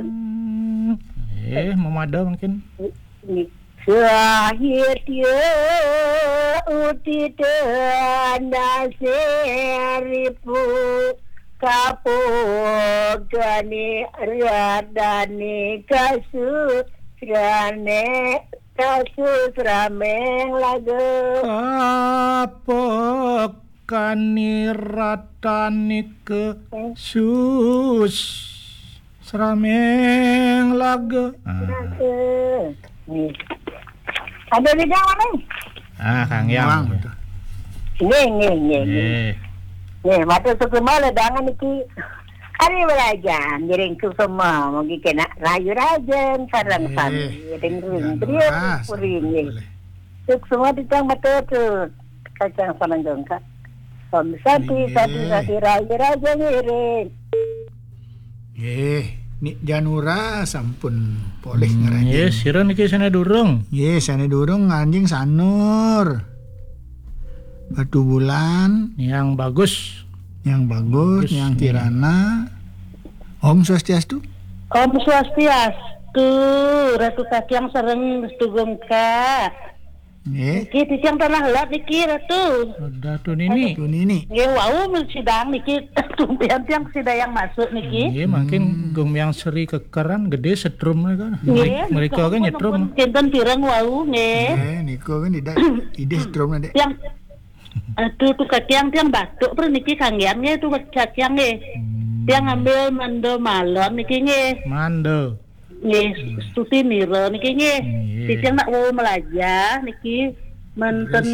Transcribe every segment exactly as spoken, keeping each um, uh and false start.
Hmm. Eh, mamada mungkin. Sahitya utita nasiripu kapogani radani kasu rane kasu srameng laga. Kapok kani ratani ke sus srameng laga. Ah. Ada di dalam, eh? Ah, Kang Yang. Wang, betul. Nggih, nggih, nggih, nggih. Nggih. Nggih, matur suksma ledangan niki. Ari belajar, ngiring suksma, mugi kena rayu rajen, sareng Eh, sami, ring ring, Yang beliau Lurah, puri, sampun nggih. Boleh. Suksma titang matur tu, kacang pananjung, Kak. Om Santi, Nggih. Santi, Santi, rayu rajen, ngiring. Nggih, Nik Janura sampun polih Hmm, ngeranjing. Nggih, sira niki sane durung? Nggih, sane durung ngeranjing Sanur. Batu Bulan. Yang bagus. Yang bagus, Bagus, yang nggih. Kirana. Om Swastiastu. Om Swastiastu, Ratu Kakiang sareng Tugungka. Nggih. Niki titiang tanah helat niki, Ratu. Ratu Nini. Ratu Nini. Nggih, wau sidang niki, tumpian tiang sida yang masuk niki. Nggih, mungkin Hmm. Gung Yang Seri kekeran gede setrum mereka. Nggih, Mereka kan niki nyetrum. Kinten pirang wau, nggih. Nggih, niku kan tidak, tidak setrum, Dek. Yang, aduh, tu Kakiang tiang batuk, per niki kanggian nggih, tu Kakiang nggih. Hmm. Tiang ambil mando malon niki nggih. Mando. Nggih, Hmm. Stuti Nira niki nggih. Nggih. Titiang nak wau melajah niki manten Terus?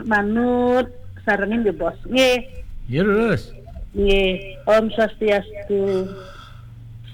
Manut sarengin nggih, Bos. Nggih. Ya, terus. Nggih, Om Swastiastu.